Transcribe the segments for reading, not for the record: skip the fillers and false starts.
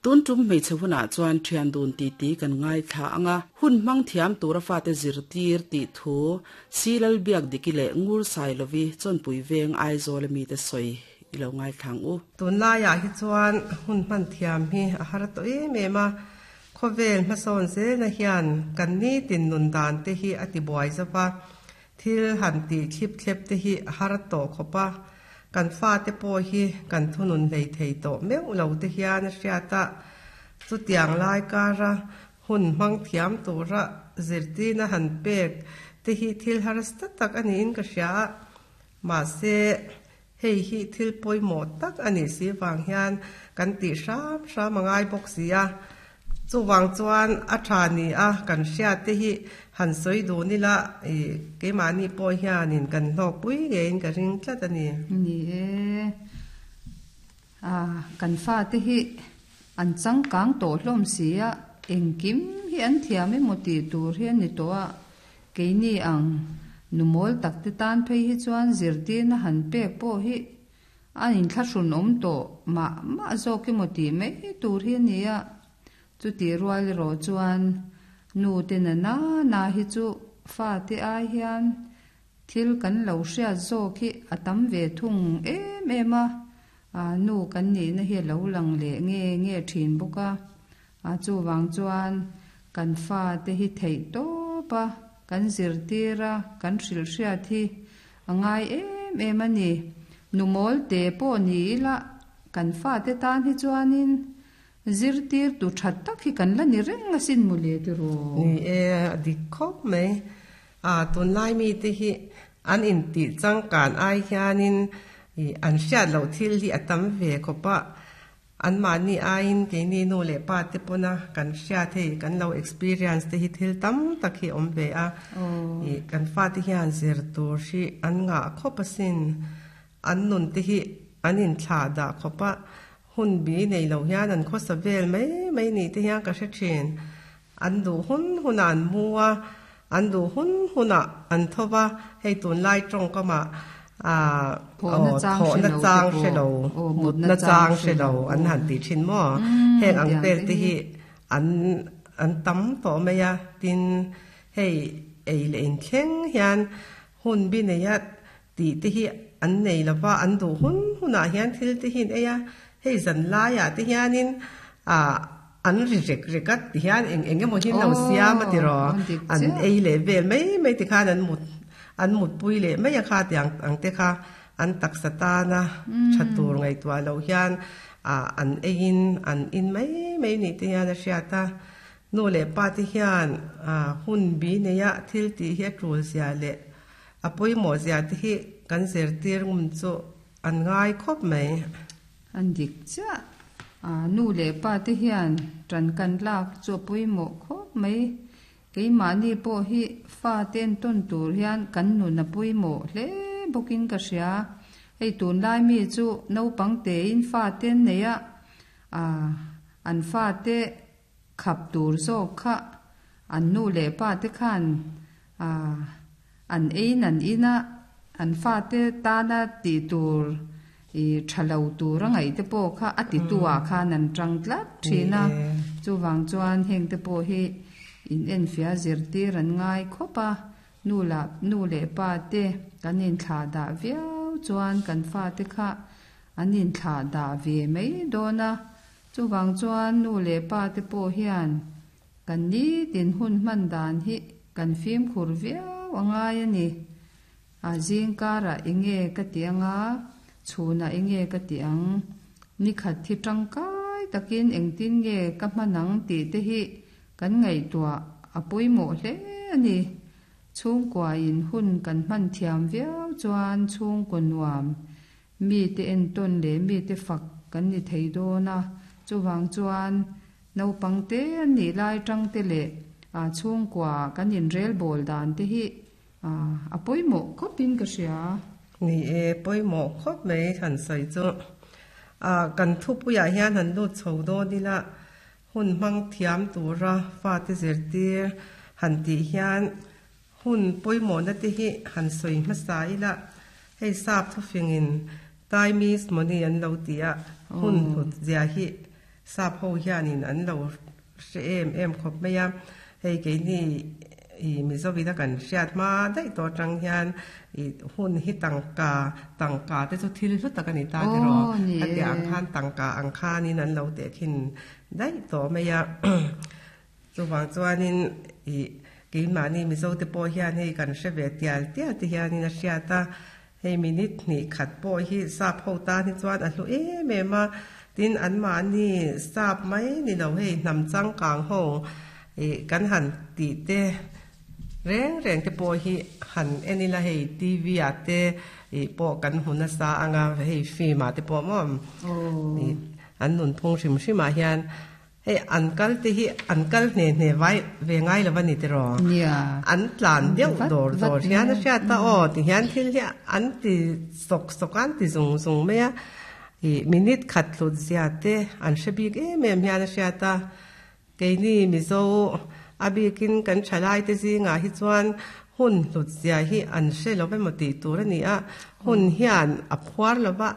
Tun tum hmeichhe hunah chuan thian dun titi kan ngaithla ang a, hun hmang thiam tura fate zirtir tih thu Si Lalbiakdiki leh Ngur Sailovi Chawnpui Veng Aizawl a mite sawi i lo ngaithla ang u. Tunlaiah hi chuan hun hman thiam hi a har tawh em em a, khawvel hmasawn zelna hian kan nitin nun dan te hi a ti buai zo va, thil han tih thlip thlep te hi a har tawh khawp a, kan fate pawh hi kan thunun hlei thei tawh meuh lo te hian a hriat a, chutiang lai kara hun hmang thiam tura zirtirna han pek te hi thil harsa tak a niin ka hria a, mahse Hei hi thil pawimawh tak a nih si vang hian kan tih hram hram a ngai bawk si a. Chuvang chuan a tha ni a kan hriat te hi han sawi dun ila i keimahni pawh hianin kan hlawkpui ngeiin ka ring tlat a ni. Ni e, a kan fate hi an changkang tawh hlawm si a, engkim hi an thiam emaw tih tur hi a ni tawh a, Keini ang nu mawl tak te tan phei hi chuan zirtirna han pek pawh hi a inthlahrun awm tawh mah mah zawk emaw tih mai tur hi a ni a. Chutih rual erawh chuan nu te na na na hi chu fate ai hian thil kan lo hriat zawk hi a tam ve thung em em a, nu kan nihna hi a lo lang leh nge nge thin bawk a. A chuvang chuan kan fate hi theih tawp a, kan zirtir a, kan hrilhhriat hi a ngai em em a ni. Nu mawl te pawh ni ila kan fate tan hi chuanin zirtir tu that tak hi kan la ni reng asin mawle tiraw? Ni e, a dik khawp mai. A tunlai mite hi an intih changkan ai hianin an hriat loh thil hi a tam ve khawp a. Anmahni aiin keini nu leh pa te pawna kan hriat hei kan lo experience te hi thil tam tak hi awm ve a, ih kan fate hian zir tur hi an ngah khawp asin, an nun te hi an inthlah dah khawp a, hun bi nei lo hian an khawsa vel mai mai nih te hian ka hre thin. An duh hun hunah an mu a, an duh hun hunah an tho va, hei tunlai tawngkamah aah thawhna chang hre lo, mutna chang hre lo an han tih thin maw? Heng ang vel te hi an an tam tawh mai a, tin hei ei leh inthleng hian hun bi neia tih te hi an nei lo va, an duh hun hunah hian thil te hi an ei a, hei zan laiah te hianin ah an ri rek rek a ti hian eng eng emaw hi an lo siam a tiraw, an ei leh vel mai mai ti khan an mut an mutpui leh mai a kha tiang ang te kha an taksa tana tha tur ngaihtuah loh hian ah an eiin an in mai mai nih te hian a hriat a, nu leh pa te hian ah hun bi neia thil tih hi a tul zia leh A pawimawh zia te hi kan zirtir ngum chu an ngai khawp mai. An dik chiah. A nu leh pa te hian tan kan lak chu a pawimawh khawp mai. Keimahni pawh hi fa te entawn tur hian kan nun a pawimawh hle bawkin ka hria. Hei tunlai mi chu naupang tein fa te an nei a, an fa te Khap tur zawk kha an nu leh pa te khan an ein an in a, an fate tana tih tur i tha lo tur a ngaih te pawh kha a titu ah khan an tang tlat thin a. Chuvang chuan heng te pawh hi in enfiah zirtir an ngai khawp a, nu lah nu leh pa te kan inthlah dah viau chuan kan fate kha an inthlah dah ve mai dawn a. Chuvang chuan nu leh pa te pawh hian kan nitin hun hman dan hi kan fimkhur viau a ngai a ni. A zing karah enge ka ti anga, chhunah enge ka ti ang, nikhat thi tangkai takin engtin nge ka hman ang tih te hi kan ngaihtuah a pawimawh hle a ni. Chhungkuain hun kan hman thiam viau chuan chhungkaw nuam Mite entawn leh mite fak kan ni thei dawn a, chuvang chuan naupang te an nih lai tang te leh chhungkua kan inrel bawl dan te hi a pawimawh khawpin ka hria. Ni e, pawimawh khawp mai han sawi chu. Kan thupuiah hian han lut chho dawn ila, hun hmang thiam tura fate zirtir han tih hian Hun pawimawhna te hi han sawi hmasa ila, hei sap thufingin time is money an lo ti a, hun hlut zia hi Sap ho hianin an lo hre em em khawp mai a, hei keini ih Mizovina kan hriat hma daih tawh atang hian ih hun hi tangka tangka te chu thil hlu tak a ni ta tiraw khatiang ang khan tangka ang khanin an lo tehkhin daih tawh mai a chuvang chuanin ih keimahni Mizo te pawh hian hei kan hre ve tial tial te hianin a hriat a. Hei minute hnih khat pawh hi sap ho tan hi chuan a hlu em em a, tin anmahni sap mai ni lo hei hnam changkang ho ih kan han tih te reng reng te pawh hi han en ila hei TV ah te ih pawh kan hmu nasa ang a hei film ah te pawh maw ih an nunphung hrim hrim ah hian Hei an kal te hi an kal hne hne vai ve ngai lo a ni tiraw? Nia. An tlan deuh dawr dawr hian a hriat a aw ti hian thil hi an ti sawk sawk a an ti zung zung mai a ih minute khat hlut zia te an hre bik em em hian a hriat a keini Mizo a bikin kan thalai te zingah hi chuan hun hlut zia hi an hre lo emaw tih tur a ni a hun hian a phuar lo va.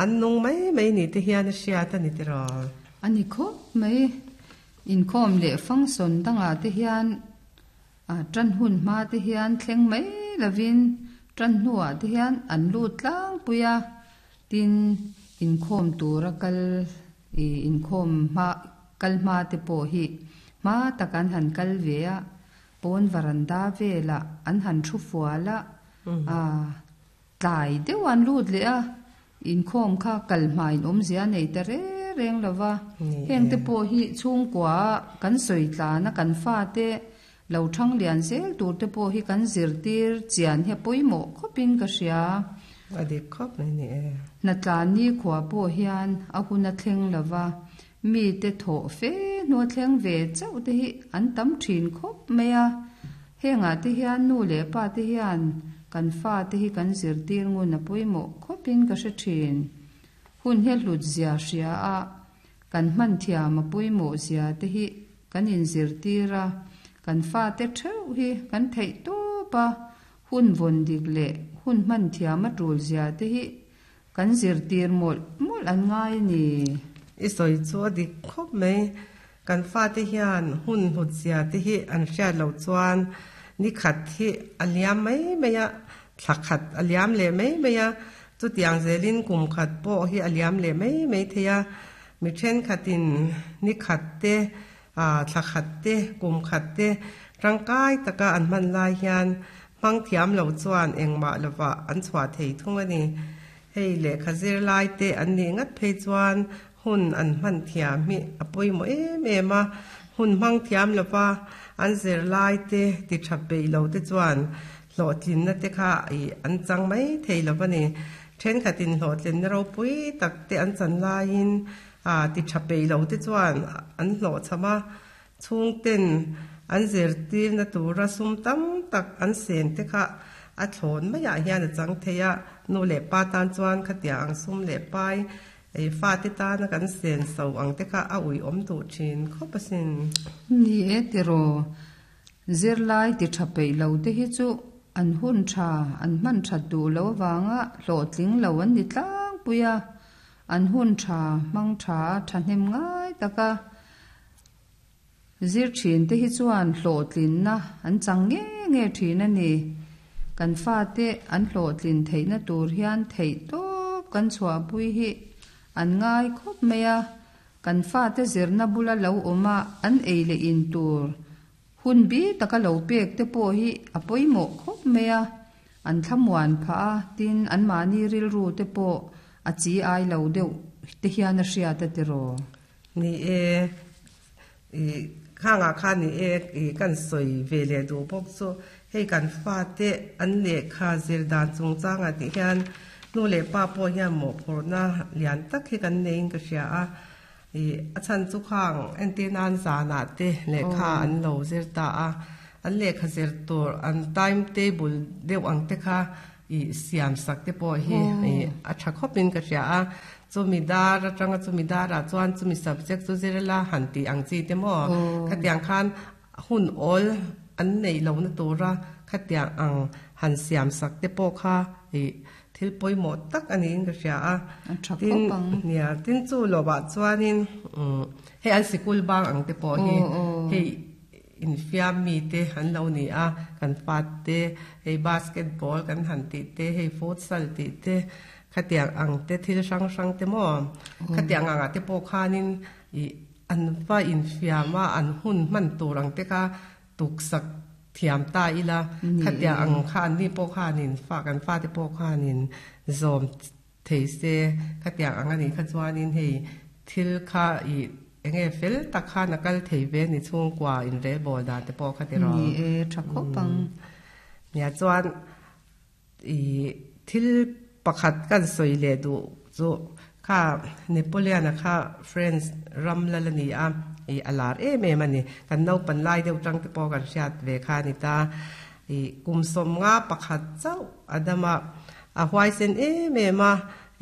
An nung mai mai ni te hian a hriat a ni tiraw? A ni khawp mai. Inkhawm leh function dangah te hian tan hun hma te hian thleng mai lovin tan hnuah te hian an lut tlangpui a, tin inkhawm tura kal ih inkhawm hma kal hma te pawh hi hma tak an han kal ve a, pawn varanda velah an han thu fual a, Tlai deuh an lut leh a, inkhawm kha kal hmain awmzia nei ta reng reng lo va. Hengte pawh hi chhungkua kan sawi tlana kan fate lo thang lian zel tur te pawh hi kan zirtir chian hi a pawimawh khawpin ka hria. A dik khawp mai ni e. Hnatlan nikhua pawh hian a hun a thleng lo va, mite thawh fe hnu a thleng ve chauh te hi an tam thin khawp mai a. Hengah te hian nu leh pa te hian kan fa te hi kan zirtir ngun a pawimawh khawpin ka hre thin. Hun hi a hlut zia hria a, kan hman thiam a pawimawh zia te hi kan inzirtir a, kan fa te theuh hi kan theih tawp a, hun vawn dik leh hun hman thiam a tul zia te hi kan zirtir mawlh mawlh an ngai a ni. I sawi chu a dik khawp mai. Kan fate hian hun hlut zia te hi an hriat loh chuan ni khat hi a liam mai mai a, thla khat a liam leh mai mai a, chutiang zelin kum khat pawh hi a liam leh mai mai thei a. Mi thenkhatin ni khat te, thla khat te, kum khat te tangkai taka an hman lai hian hmang thiam lo chuan engmah lovah an chhuah thei thung a ni. Hei lehkha zirlai te an nih ngat phei chuan Hun an hman thiam hi a pawimawh em em a, hun hmang thiam lova an zirlai te ti tha peih lo te chuan hlawhtlinna te kha ih an chang mai thei lo a ni. Thenkhatin hlawhtlinna ropui tak te an chan laiin ah ti tha peih lo te chuan an hlawhchham a, chhungten an zirtirna tura sum tam tak an sen te kha a thlawn maiah hian a chang thei a, nu leh pa tan chuan khatiang ang sum leh pai Ei fate tana kan sen so ang te kha a ui awm duh thin khawp asin. Ni e tiraw, zirlai ti tha peih lo te hi chu an hun tha an hman that duh lo avanga hlawhtling lo an ni tlangpui a, an hun tha hmang tha a thahnem ngai tak a. Zir thin te hi chuan hlawhtlinna an chang nge nge thin a ni. Kan fate an hlawhtlin theihna tur hian theih tawp kan chhuahpui hi an ngai khawp mai a, kan fate zirna bula lo awm a an ei leh in tur hun bi taka lo pek te pawh hi a pawimawh khawp mai a, an thlamuan phah a, tin anmahni rilru te pawh a chi ai lo deuh te hian a hriat a tiraw. Ni e, i khangah khan ni e i kan sawi ve leh duh bawk chu hei kan fate an lehkha zir dan chungchangah tih hian nu leh pa pawh hian mawhphurhna lian tak hi kan neiin ka hria a, i a chhan chu khang entir nan zanah te lehkha an lo zir ta a, an lehkha zir tur an time table deuh ang te kha i siam sak te pawh hi i a tha khawpin ka hria a, chumi dar atanga chumi darah chuan chumi subject chu zir ila han tih ang chi te maw khatiang khan hun awl an neih lohna tura khatiang ang han siam sak te pawh kha i. thil pawimawh tak a niin ka hria a. A tha Tin, khawp ang. nia, tin chu lovah chuanin umm hei an sikul bang ang te pawh hi Aw aw. hei infiam mite an lo ni a, kan fate hei basketball kan han tih te, hei futsal tih te, khatiang ang te thil hrang hrang te maw khatiang angah te pawh khanin ih an va infiam a, an hun hman tur ang te kha tuksak thiam ta ila, khatiang ang kha anni pawh khanin fa kan fate pawh khanin zawm thei se, khatiang ang anih kha chuanin hei thil kha ih eng nge fel tak khan a kal thei ve ni chhungkua inrelbawl dan te pawh kha ti rawh. Ni e, tha khawp ang. Nia chuan ih thil pakhat kan sawi leh duh chu kha Napoleon-a kha French ram lal a ni a, ih a lar em em a ni. Kan naupan lai deuh tang te pawh kan hriat ve kha a ni ta. Ih kum sawmnga pakhat chauh a dam a, a huaisen em em a,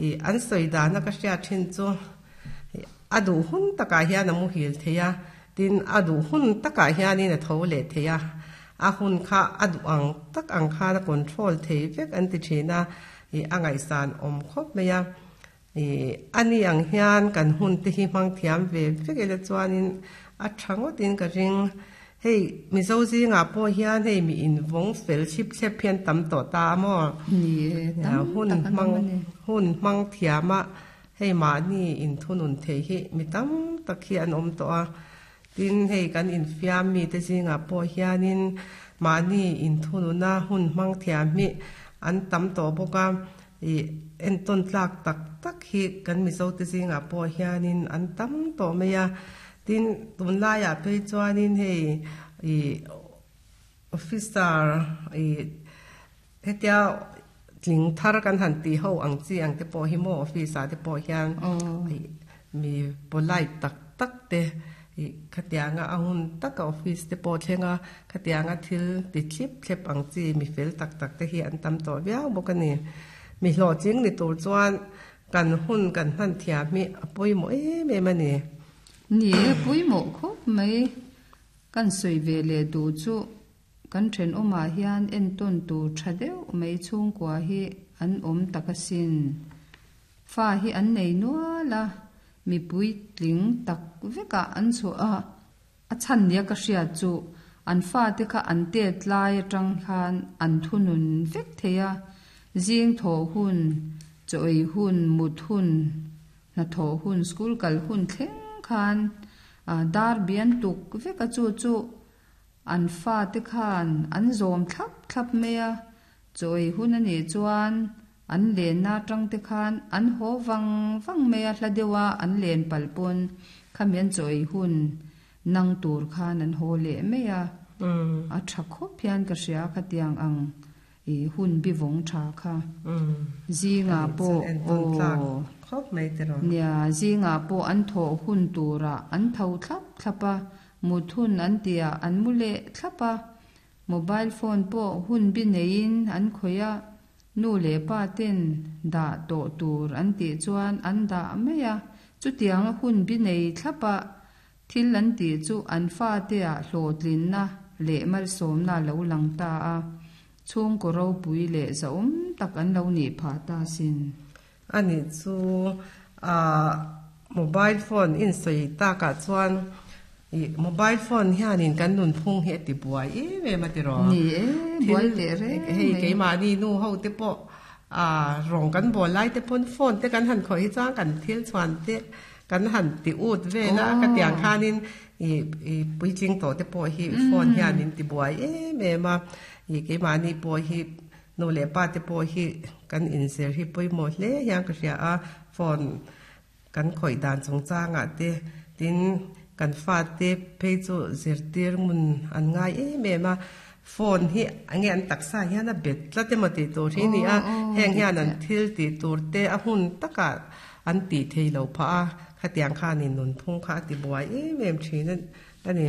ih an sawi dana ka hriat thin chu ih a duh hun takah hian a muhil thei a, tin a duh hun takah hianin a tho leh thei a, a hun kha a duh ang tak ang khan a control thei vek an ti thin a, ih a ngaihsan awm khawp mai a. Ih, a ni ang hian kan hun te hi hmang thiam ve vek ila chuanin a tha ngawtin ka ring. Hei, Mizo zingah pawh hian hei mi invawng fel thlip thlep hian tam tawh ta a maw? Ni e, tam Hun tak an hmang awm a ni. hun hmang thiam a, hei mahni inthunun thei hi mi tam tak hi an awm tawh a. Tin, hei kan infiam mite zingah pawh hianin mahni inthununa hun hmang thiam hi an tam tawh bawk a. Ih, entawn tlak tak tak hi kan Mizote zingah pawh hianin an tam tawh mai a. Tin, tunlaiah phei chuanin hei ih officer ih hetia tling thar kan han tih ho ang chi ang te pawh hi maw office ah te pawh hian ih mi polite tak tak te ih khatianga a hun taka office te pawh thleng a, khatianga thil ti thlip thlep ang chi mi fel tak tak te hi an tam tawh viau bawk a ni. Mi hlawhtling ni tur chuan kan hun kan hman thiam hi a pawimawh em em a ni. Ni e, pawimawh khawp mai. Kan sawi ve leh duh chu kan thenawmah hian entawn tur tha deuh mai chhungkua hi an awm tak asin. Fa hi an nei nual a, mipui tling tak vekah an chhuah a, a chhan nia ka hriat chu an fate kha an tet lai atang khan an thunun vek thei a, zing thawh hun, chaw ei hun, mut hun, hnathawh hun, school kal hun thleng khan dar bian tuk vek a chu chu an fate khan an zawm thlap thlap mai a, chaw ei hun a nih chuan An lenna atang te khan an haw vang vang mai a, hla deuha an len palh pawn khami an chaw ei hun nang tur khan an haw leh mai a, a tha khawp hian ka hria khatiang ang i hun bi vawng tha kha. Zingah pawh aw nia zingah pawh an thawh hun turah an tho thlap thlap a, mut hun an tihah an mu leh thlap a, mobile phone pawh hun bi neiin an khawih a, Nu leh pa ten dah tawh tur an tih chuan an dah mai a, chutianga hun bi nei thlapa thil an tih chu an fatea hlawhtlinna leh malsawmna a lo lang ta a, chhungkaw ropui leh zahawm tak an lo nih phah ta sin. Ani chu ah mobile phone insawi takah chuan Ih, mobile phone hianin kan nunphung hi a ti buai em em a ti rawh. Ni e, buai teh reng mai. Hei keimahni nu ho te pawh ah rawng kan bawl lai te pawn phone te kan han khawih hi chuan kan thil chhuan te kan han ti ut vel a, ka tiang khanin ih ih puitling tawh te pawh hi phone hianin ti buai em em a. Ih, keimahni pawh hi nu leh pa te pawh hi kan inzir hi pawimawh hle hian ka hria a, phone Kan khawih dan chungchangah te, tin kan fate phei chu zirtir ngun an ngai em em a, phone hi enge an taksa hian a bet tlat emaw tih tur hi a ni a, heng hian an thil tih tur te a hun takah an tih thei lo phah a, khatiang khanin nunphung kha a ti buai em em thin a ni.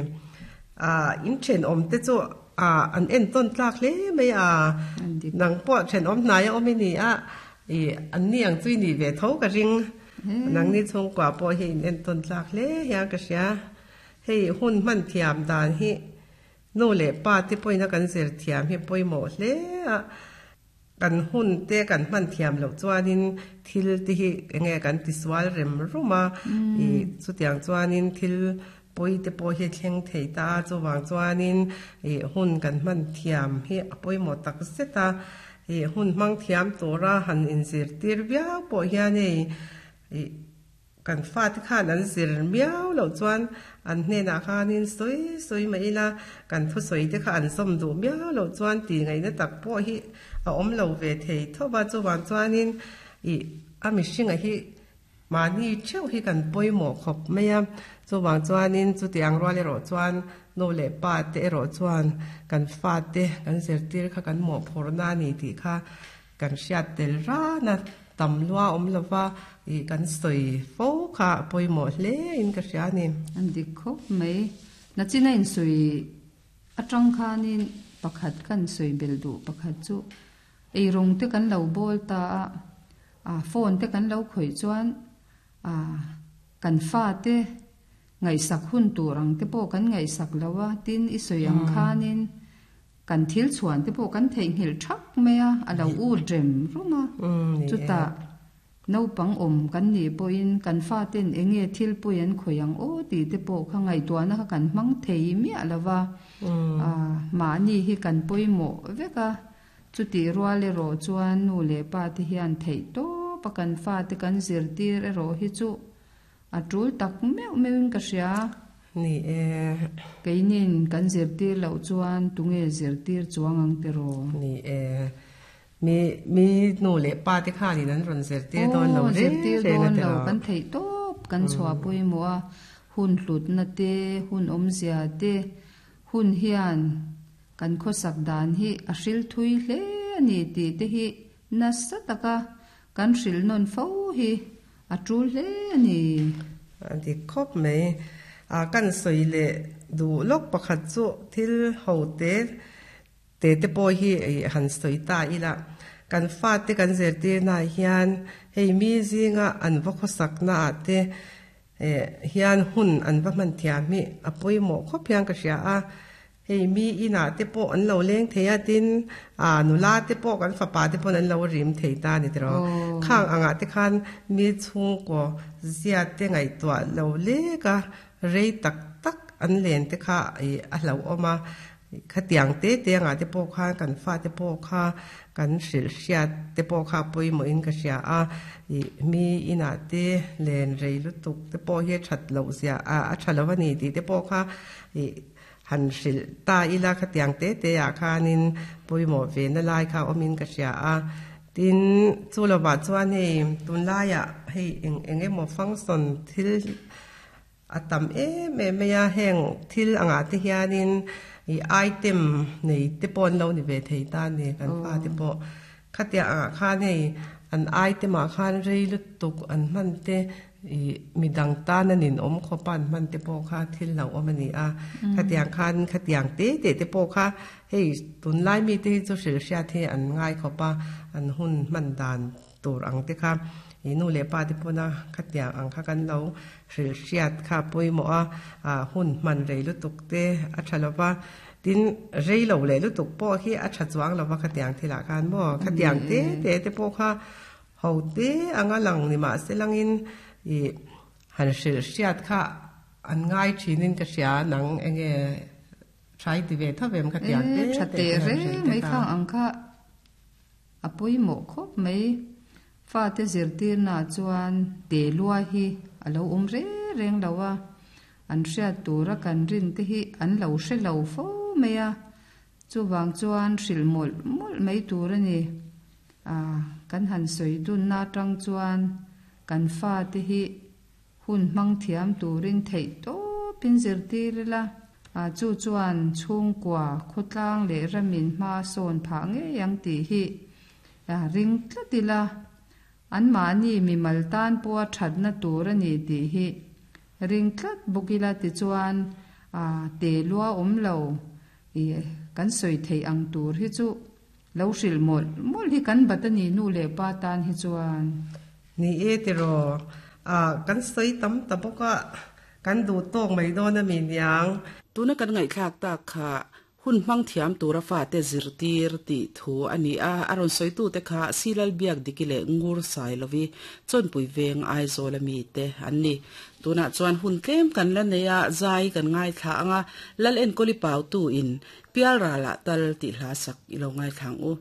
Ah in thenawm te chu ah an entawn tlak hle mai a, nang pawh thenawm hnai a awm i ni a, Ih, an ni ang chu i nih ve tho ka ring. Nangni chhungkua pawh hi in entawn tlak hle hian ka hria. Hei hun hman thiam dan hi nu leh pa te pawhin a kan zir thiam hi pawimawh hle a. Kan hun te kan hman thiam loh chuanin thil te hi enge kan tisual rem rum a, ih chutiang chuanin thil pawi te pawh hi a thleng thei ta a, chuvang chuanin ih hun kan hman thiam hi a pawimawh tak zet a, ih hun hmang thiam tura han inzirtir viau pawh hian hei ih Kan fate khan an zir miau loh chuan an hnenah khanin sawi sawi mah ila, kan thusawi te kha an zawm duh miau loh chuan tih ngaihna tak pawh hi a awm lo ve thei tho va. Chuvang chuanin ih a mihringa hi mahni theuh hi kan pawimawh khawp mai a. Chuvang chuanin chutiang rual erawh chuan nu leh pa te erawh chuan kan fate kan zirtir kha kan mawhphurhna a ni tih kha Kan hriat tel rana tam lua awm lova ih kan sawi fo kha a pawimawh hle in ka hria a ni. An dik khawp mai. Nachina insawi atang khanin pakhat kan sawi belh duh pakhat chu eirawng te kan lo bawl ta a, ah phone te kan lo khawih chuan ah kan fate ngaihsak hun tur ang te pawh kan ngaihsak lo a, tin i sawi ang khanin Kan thil chhuan te pawh kan theihnghilh thak mai a, a lo ut rem rum a. Chutah naupang awm kan nih pawhin kan faten eng nge thil pawi an khawih ang aw tih te pawh kha ngaihtuahna kha kan hmang thei miah lo va. Mahni hi kan pawimawh vek a, chutih rual erawh chuan nu leh pa te hian theih tawp a kan fate kan zirtir erawh hi chu A tul tak meuh meuhin ka hria. Ni e. Keinin kan zirtir loh chuan tunge zirtir chuang ang tiraw? Ni e. Mi mi nu leh pa te khanin an rawn zirtir dawn lo reng reng a tiraw? Aw, zirtir dawn lo. Kan theih tawp kan chhuah pawimawh a, hun hlutna te, hun awmzia te, hun hian kan khawsak dan hi a hril thui hle a ni tih te hi nasa taka kan hrilh nawn fo hi A tul hle a ni. A dik khawp mai. A kan sawi leh duh lawk pakhat chu thil ho te te te pawh hi han sawi ta ila. Kan fate kan zirtirnaah hian hei mi zinga an va khawsaknaah te hian hun an va hman thiam hi a pawimawh khawp hian ka hria a. Hei mi inah te pawh an lo leng thei a, tin ah nula te pawh kan fapa te pawn an lo rim thei ta a ni tiraw. Khang angah te khan mi chhungkaw ziat te ngaihtuah lo lek a, rei tak tak an len te kha ih a hlauhawm a. Khatiang te te angah te pawh khan kan fate pawh kha kan hrilh hriat te pawh kha a pawimawhin ka hria a, ih mi inah te len rei lutuk te pawh hi a that loh zia a tha lo a ni tih te pawh kha ih Han hrilh ta ila khatiang te te ah khanin pawimawh ve na lai kha awmin ka hria a. Tin, chu lovah chuan hei tunlaiah hei eng eng emaw function thil a tam em em mai a, heng thil angah te hianin ih item nei te pawh an lo ni ve thei ta a ni kan fate pawh. Khatiang angah khan hei an item ah khan rei lutuk an hman te Ih, midang tan a ninawm khawp a an hman te pawh kha thil hlauhawm a ni a. Khatiang khan khatiang te teh te pawh kha hei tunlai mite hi chu hrilh hriat hi an ngai khawp a, an hun hman dan tur ang te kha ih nu leh pa te pawna khatiang ang kha kan lo hrilh hriat kha a pawimawh a, ah hun hman rei lutuk te a tha lo va, tin rei lo leh lutuk pawh hi a tha chuang lo va khatiang thilah khan maw khatiang te teh te pawh kha Ho te anga lang ni mah se langin ih han hrilh hriat kha an ngai thinin ka hria nang enge try ti ve tho vem ka tiang te E tha teh reng mai khang ang kha a pawimawh khawp mai. Fate zirtirnaah chuan te lua hi a lo awm reng reng lo a, an hriat tura kan rin te hi an lo hre lo fo mai a, chuvang chuan hrilh mawlh mawlh mai tur a ni. A, kan han sawi dunna atang chuan kan fate hi hun hmang thiam turin theih tawpin zirtir ila, a, chu chuan chhungkua, khawtlang leh ramin hma sawn phah ngei ang tih hi a ring tlat ila, anmahni mimal tan pawha thatna tur a ni tih hi ring tlat bawk ila tichuan, a, te lua awm lo i kan sawi theih ang tur hi chu Lo hrilh mawlh mawlh hi kan bat a ni nu leh pa tan hi chuan. Ni e tiraw, ah kan sawi tam ta bawk a, kan duh tawk mai dawn a mi niang. Tuna kan ngaihthlak tak kha Hun hmang thiam tura fate zirtir tih thu a ni a, a rawn sawitute kha Silal Biakdiki leh Ngur Sailovi, Chawnpui Veng Aizawla mite an ni. Tunah chuan hun tlem kan la nei a, zai kan ngaithla ang a, Lal Enkawli Pautu in Pialralah tal tih hla sak i lo ngaithla ang u.